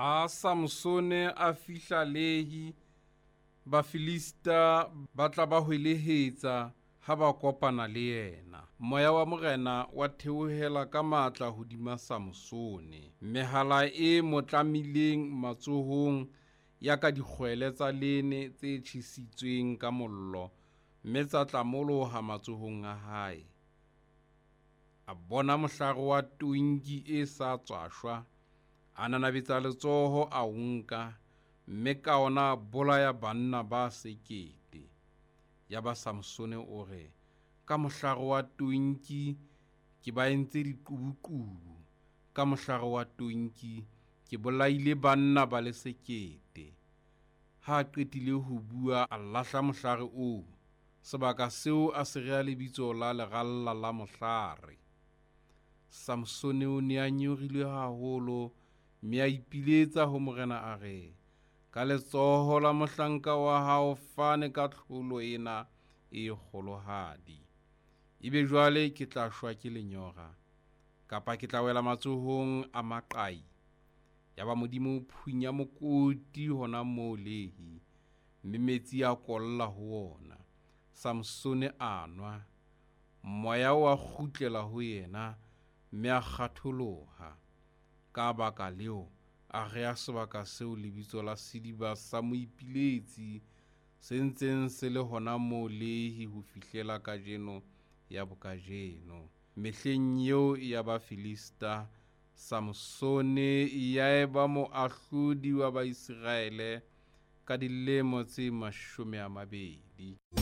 Ha Samsone a fihla Lehi, Bafilista ba tla ba hwelehetsa ha ba kopana le yena. Moya wa Morena wa theohela ka matla hodima Samsone. Mehala e mo tlamileng matsohong ya ka dikgwele tsa lene tse tjhesitsweng ka mollo, mme tsa tlamoloha matsohong a hae. A bona mohlare wa tonki e sa tswa shwa, a nanabetsa letsoho a o nka, mme ka ona a bolaya banna ba 1000. Yaba Samsone o re, Ka mohlare wa tonki ke ba entse diqubuqubu, ka mohlare wa tonki ke bolaile banna ba le 1000. Ha a qetile ho bua, a lahla mohlare oo. Sebaka seo a se rea lebitso la Leralla la Mohlare. Samsone o ne a nyorilwe haholo, mme a ipiletsa ho Morena a re, Ka letsoho la mohlanka wa hao fane ka tlholo ena e kgolohadi. Ebe jwale ke tla shwa ke lenyora, kapa ke tla wela matsohong a maqai. Yaba Modimo o phunya mokoti hona moo Lehi, mme metsi a kolla ho wona. Samsone a nwa. Moya wa kgutlela ho yena, mme a kgatholoha. Ka baka leo, a rea sebaka seo lebitso la Sediba sa Moipiletsi, se ntseng se le hona moo Lehi ho fihlela kajeno ya bokajeno. Mehleng eo ya Bafilista, Samsone ya eba moahlodi wa Baiseraele ka dilemo tse 20.